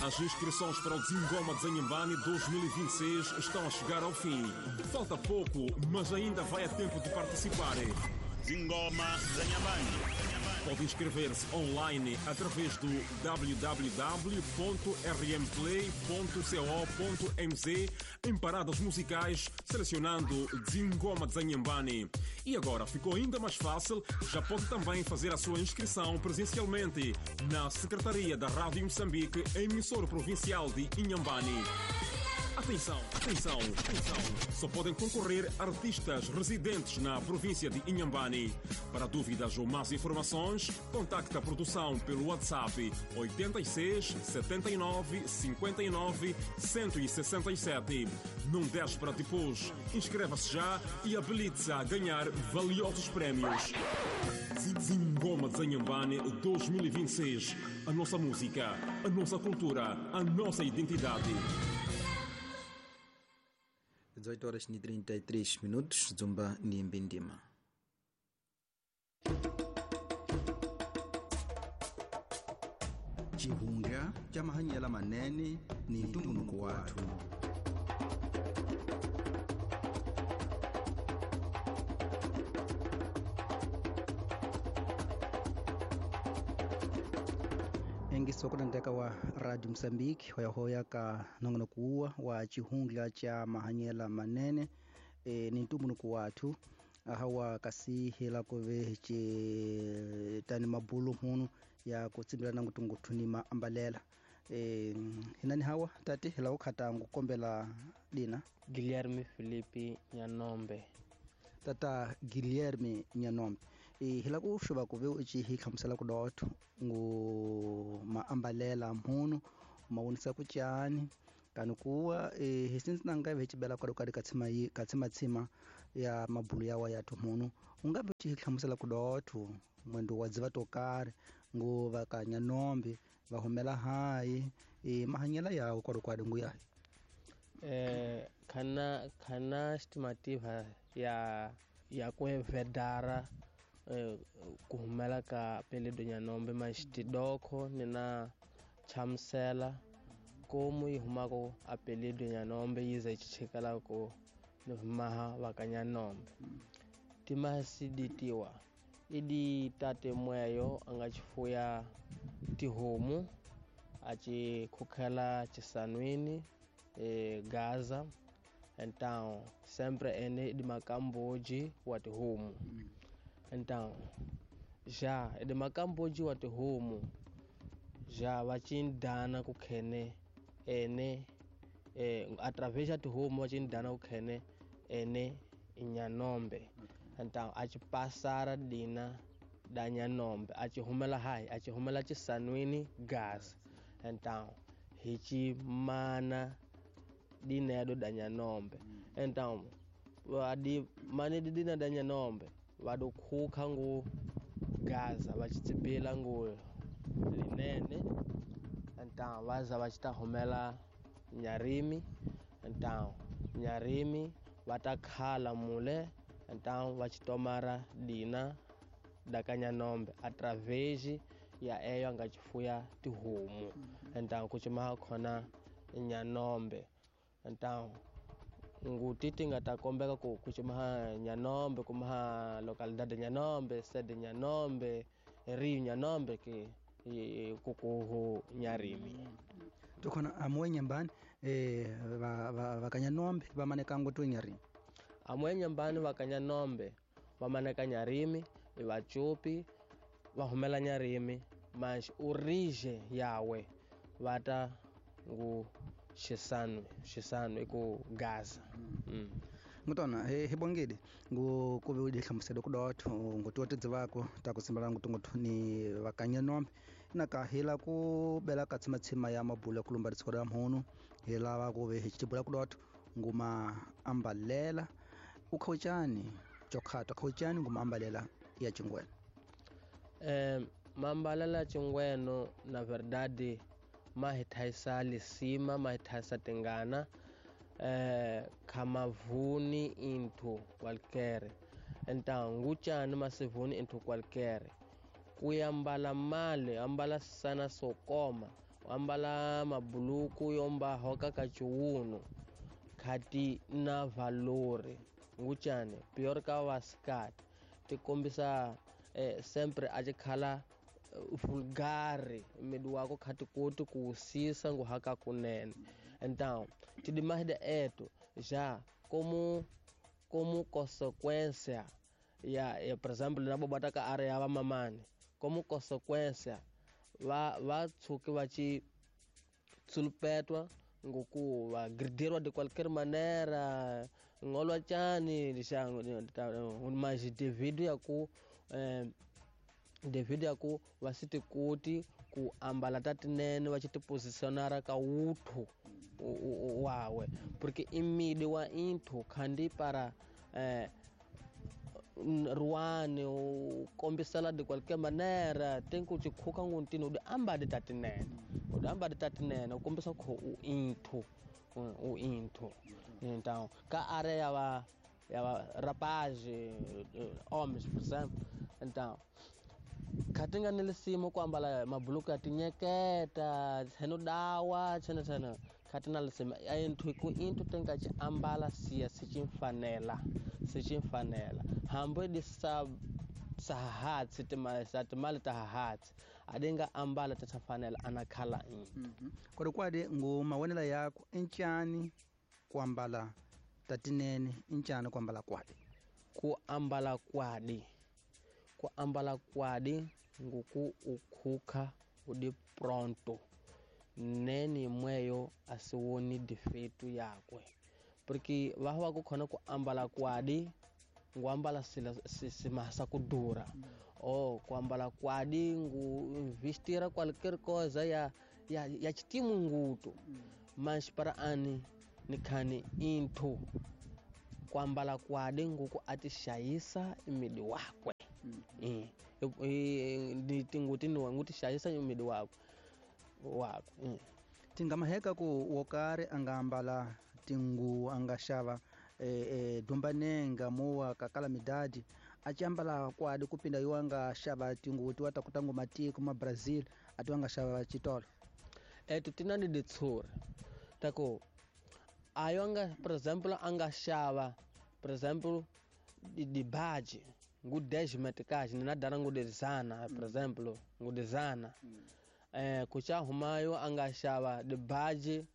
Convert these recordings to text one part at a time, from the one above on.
As inscrições para o Zingoma de Inhambane 2026 estão a chegar ao fim. Falta pouco, mas ainda vai a tempo de participar. Zingoma za Inhambane. Pode inscrever-se online através do www.rmplay.co.mz em paradas musicais, selecionando Zingoma de Inhambane. E agora ficou ainda mais fácil, já pode também fazer a sua inscrição presencialmente na Secretaria da Rádio Moçambique, emissora provincial de Inhambane. Atenção, atenção, atenção! Só podem concorrer artistas residentes na província de Inhambane. Para dúvidas ou mais informações, contacte a produção pelo WhatsApp 86 79 59 167. Não deixe para depois. Inscreva-se já e habilite-se a ganhar valiosos prémios. Zingoma de Inhambane 2026. A nossa música, a nossa cultura, a nossa identidade. 18 horas e 33 minutos, Zumba Niembindima. Chihunga cha mahanyela manene ni ntumbuluko wathu. Engiso kutandeka wa Radio Mozambique hoyahoya ka nongonoko wa chihungla cha mahanyela manene ni ntumbuluko wathu ahawa kasi hela kove che tani mabulu hunu ya kutsimbilana ngutungutu ni maambalela hinani hawa tati hela ukhata ngukombela dina Guilherme Felipe Nyanombe. Tata Guilherme Nyanombe, hila ku xuva ku ve u ci hi hlamusela ku dotho ngu maambalela mhunu ma vonisa ku cani kani kuwa hi since na nga ve ci bela kwale ka tshima ka tshimatsima ya mabulu yawa ya mhunu u nga ve ci hi hlamusela ku dotho mwendo wa dziva to karhi ngu va ka Nyanombe va humela hayi mahanyela yawo kwale ngu yayi. Khana estimativa ya kuevedara kuhumela ka peledo Nyanombe maxitidoko ni na chamusela komu yi humako a peledo Nyanombe yi za yi chichikela ku ni humaha va ka Nyanombe. Timasiditiwa i di tate mweyo a nga chifuya tihomu a ci khukhela chisanwini Gaza então sempre ene di makamboji wa tihomu. Então já di makamboji wa tihomu já va cindana ku khene ene através ya tihomu va cindana ku khene ene Nyanombe. Então a ci passara dina da Nyanombe a ci humela hayi a ci humela chisanwini Gaza. Então hi ci mana dinedo da Nyanombe. Então adi mane dina da Nyanombe va do khukha ngu Gaza va ci tsibila ngu linene. Então va za va ci ta humela Nyarimi. Então Nyarimi va ta khala mule. Então va ci tomara dina da ka Nyanombe através ya eyo a nga chifuya tihomu. Então ku cimaha khona Nyanombe. Então nguti ti nga ta kombeka ku cimaha Nyanombe kumaha localidade Nyanombe sede Nyanombe Rio Nyanombe ke kukuhu Nyarimi. Tukhona amwe Nyambani va ka Nyanombe va maneka ngutu Nyarimi. Amwe Nyambani va ka Nyanombe va maneka Nyarimi i vacupi va humela Nyarimi mas origem yawe va ta ngu Xisano ku Gaza. Ngutona hi bongile ngu ku ve u di hlamusela ku dotho ngu tiwa tidzivako ta ku simbela ngutungutu ni va ka Nyanombe na ka hila ku bela ka tshimatsima ya mabulu ya ku lumba ritshiko ra mhunu hi lava ku ve hi chibula ku dotho ngu maambalela u khaucani chokhato khaucani ngu maambalela ya chingweno. Maambalela ya chingweno na verdade ma hi thayisa lisima ma hi thayisa tingana khamavuni into qualquer. Então ngucani masivuni into qualquer kuyambala mali ambala sana sokoma Ambala mabuluku yomba hoka ka chiwuno khati na valori nguchane pior ka vasikati ti kombisa sempre a chikhala vulgare midi wako khati koti ku sisa nguhaka kunene. Então tidimahida eto já como consequência ya por exemplo na bobata ka área ya vamamani como consequência va tshuki va ci tsulupetwa ngoku va gridirwa de qualquer maneira ngolwa chani lixango mas devido ya ku va si ti koti ku ambala ta tinene va ci ti posicionara ka wuthu wawe porque imidi wa inthu khandi para ruane u kombisela de qualquer maneira tem ku ci khuka nguntini u di ambadi ta tinene u di ambadi ta tinene u kombisa ku u inthu então ka área ya va rapaz homens por exemplo então khatinga ni lisimo ku ambala mabuluku ya tinyeketa tsheno dawa tshena tshena khatina lisimo inthu ku inthu tenka ci ambala siya sicimfanela hambo di sa sahatsi timali ta hahatsi adinga ambala tatafanela anakhala inthu. Kodi kwadi ngumawonela yako incani kuambala tatinene incani kuambala kwadi ku ambala kwadi nguku ukhukha udi pronto neni mweyo asiwoni defeito yakwe porque vaha ku khona ku ambala kwadi nguambala simasa kudura o kuambala kwadi ngu investira qualquer coisa ya chitimu nguto mas para ani nikhani inthu kuambala kwadi nguku atixayisa imidi wakwe. Tinguti niwa ngutixayisa imidi wakwe Tingamaheka ku wokari angambala tingu angaxava dumbanenga muwa kakala midadi achiambala kwadi kupinda iwo angaxava tinguti wa takutangu matiko ma Brazil ati angaxava chitolo eto tinani ditsuri tako ayo anga por exemplo angaxava por exemplo di baji ngu 10 meticais nina dara ngu dezana por exemplo ngu dezana kucha humayo angaxava di baji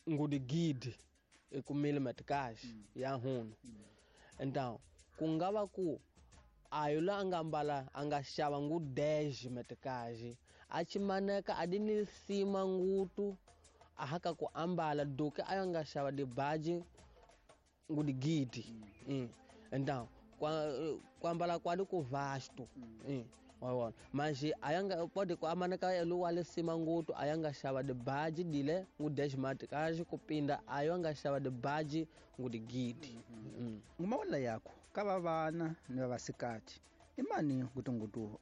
ngu di gidi ekumile meticais ya hunu. Então kungava ku ayo la angambala angaxava ngu 10 meticais achimaneka adini sima ngutu ahaka ku ambala duke ayo angaxava di baji ngu di gidi. Então kuambala kwadi ku vasto. Wawona manje ayanga pode ku amaneka elu wale sima ngutu ayanga xava de baji dile ngu 10 meticais kupinda ayo anga xava de baji ngu di gidi. Ngumawela yakho kava vana ni vavasikati imani ngutu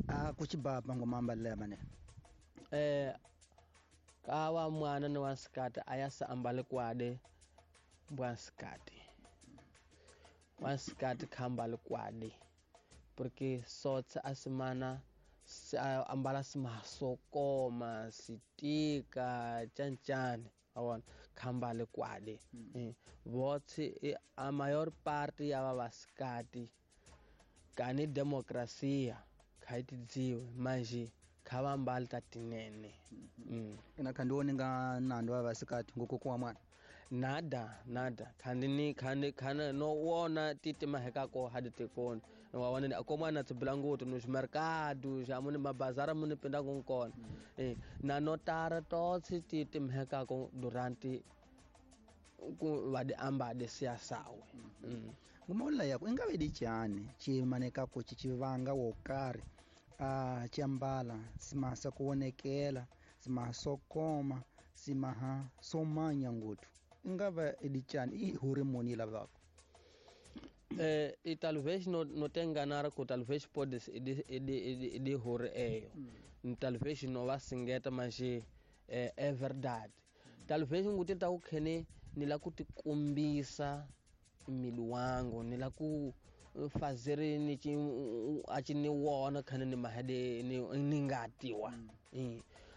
a kuchibaba ngomambalela mane kawa mwana ni wasikati ayasa ambale kwade bwasikati wasikati khambale kwade porque sotsa asimana ambala simasokoma sitika chanchane awona khambale kwade. Votsi a maior parte ya vavasikati kani demokrasia khaitidziwe manje khavambali tatinene. Ina khandiwoni nga nando vavasikati ngukukuwa mwana nada khandi khana no wona titi mahekako hadi tikoni wa wona ko mwana tsibila ngutu no mercado ja muni mabazara muni pinda ngukona na notara totsi titi mahekako durante ku vadi ambade siasawe. Ngumaola yako ingave dichani chimanekako chichivanga wokari a chiambala simasa kuonekela simasokoma simaha somanya ngutu ingava edichani i hormone lavako e talvez no te enganar ku talvez pode de hore eyo talvez no va singeta mas é verdade talvez nguti ta ku khene ni la ku tikombisa mili wangu ni la ku fazer ni ci a ci ni wona khane ni mahade ni ngatiwa.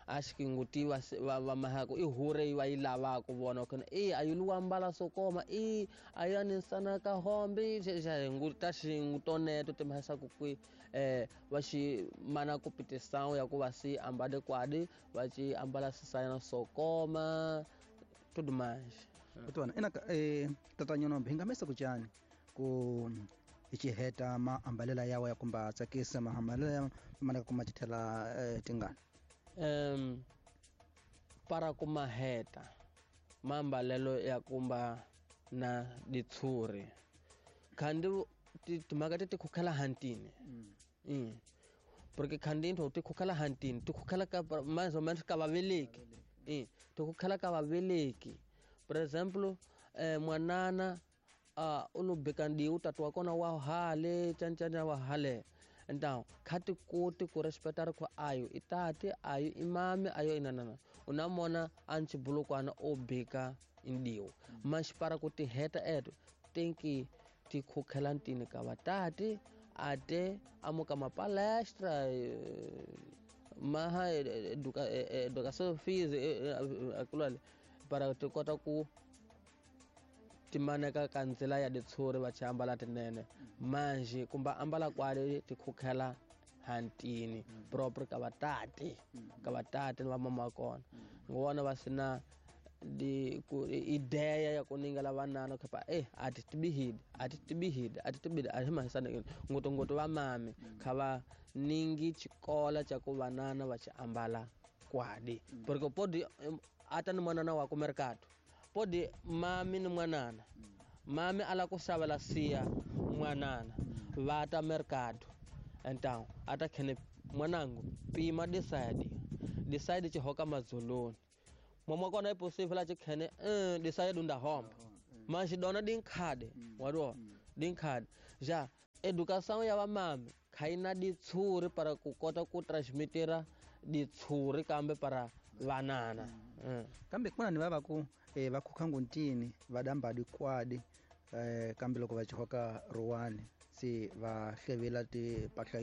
Acho que nguti va mahako i hure va yi lavaka vona kona e ayi lu ambala sokoma e ayani sana ka hombe xa nguta xingutoneto timhasa ku kwi va xi mana ku pitisawu ya ku va si ambale kwadi va ci ambala sisayana sokoma tudo mais. Kutwana ina tata Nyanombe hi nga mesa ku cani ku hi xiheta maambalela yawa ya kumba tsakisa maambalela ya manaka kuma tithela tingana. Para kumaheta maambalelo ya kumba na ditshuri khandi timhaka ti khukhela hantini. Porque khandi into ti khukhela hantini ti khukhela ka mais ou menos ka vaveleki. Ti khukhela ka vaveleki. Por exemplo, mwanana u lo beka ndiwu tatu wa kona wa hale chanchana wa hale. Então, khati koti ku respeitar ku ayo itati ayo imame ayo inanana unamona anchi bulukwana o beka ndiwo mas para ku tiheta eto tem que ti khukhela ntini ka vatati ate amuka mapalestra maha educação física akulale para ti kota ku timaneka ka ndzila ya ditshuri va chi ambala tinene manje kumba ambala kwale ti khukhela hantini proper ka vatati ni va mama kona ngona va sina di ku ideia ya kuningela vanana khapa ati tibihidi ati mahisana ngoto va mame khava ningi chikola cha ku vanana va chi ambala kwadi porque podi ata ni mwanana wa ku mercado podi mami ni mwanana mami ala ku xavela siya mwanana va ta mercado então ata khene mwanangu pima decide chihoka mazuluni mama kona é possível a khene decide unda home mas dona dinkhade wado dinkhade já educação ya vamami khaina ditshuri para ku kota ku transmitira ditshuri kambe para vanana. Kambe kuna ni vava ku va khukha nguntini va damba dikwadi kambe loko va chihoka ruwani se va hlevela ti pahla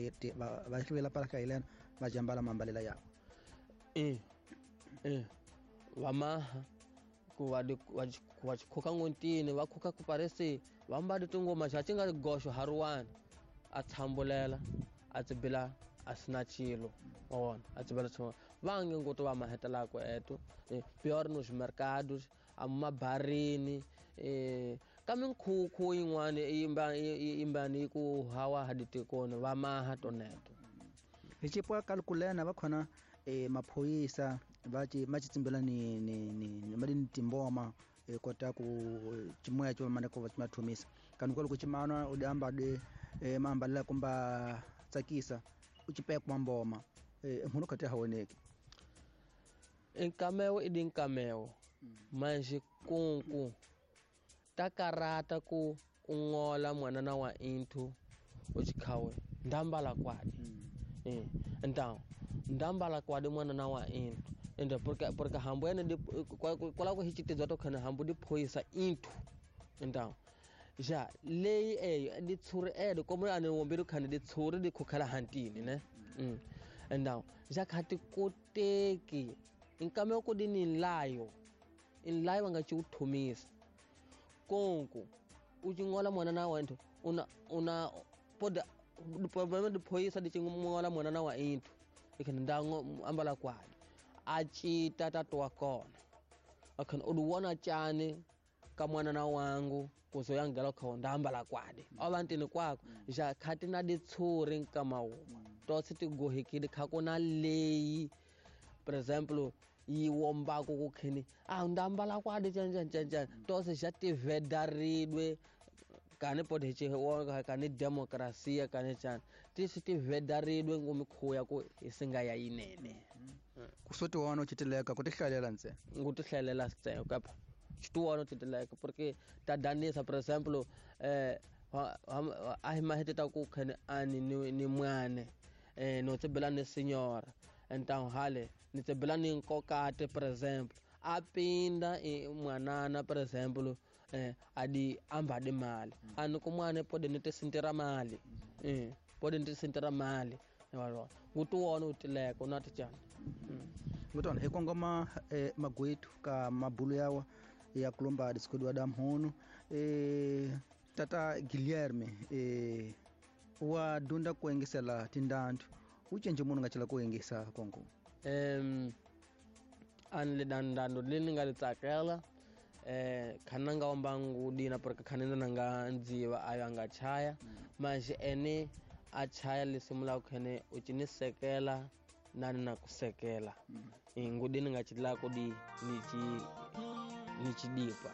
va hlevela pahla yilena va jambala mambalela yabo vamaha ku va khukha nguntini va khukha ku parece va mbali tingoma xa xi nga goxo haruwani a tshambulela a tsibila a sina chilo wa a tsibela tsho vange ngoto va mahetelako eto pior nos mercados a mabarini ka minkhukhu yin'wana yimbani ku hawa haditikoni va maha toneto hi cipo kalkulena va khona maphoyisa va ci ma tsimbela ni mali ni timboma kota ku chimoya cho mana ko va mathomisa kanu ko chimana u damba de maambalela kumba tsakisa u chipekwa mboma munhu khati hawoneki inkameo i dinkameo manje kunku takarata ku ungola mwanana wa inthu u chikhawe ndambala kwadi então ndambala kwadi mwanana wa inthu ende porque hambu ene kwala ku hichitizwa to khana hambu di phoyisa inthu então já leyi eyo ditshuri edo como ane wombiri khana ditshuri di khukhala hantini ne então já khati koteki inkameo ku dini nlayo inlayo nga chi uthumisa konku u chingola mwanana wa inthu una poda problema diphoyisa di chingola mwanana wa inthu ikhana ndango ambala kwadi a cita tatu wa kona akhana u wona chani ka mwanana wangu kuzo yangela kho ndambala kwadi avantini kwako ja khati na ditshuri nkama tose ti gohekile kha kona leyi por exemplo yi wombako ku khini a ndambala kwadi chan tose ja ti vedaridwe kani pode che wonga kani demokrasia kani chan tisi ti vedaridwe ngomikhuya ku isinga ya yinene kusoti wona uchitileka ku tihlalela ntse ngutihlalela ntse kapa xituwano titileka porque ta danisa por exemplo a hi maheteta ku khene ani ni mwane no tsibela ni senhora então hale ni tsibela ni nkokate por exemplo a pinda mwanana por exemplo adi ambade mali ani ku mwane pode ni te sintira mali pode ni te sintira mali walo ngutuwona utileka unati chani Ngutona hi kongoma magwetu ka mabulu yawa ya kulomba disikodi da mhono tata Guilherme wa dunda kuengesela tindantu ucenje munhu nga cela ku engisa kongo ani le dandando le ni nga li tsakela khana nga omba ngudina porque khana na nga ndziva ayo anga chaya manje ene a chaya lisimula khene u ci ni sekela nani na kusekela ngudini nga chila kudi ni ci ni chidipa.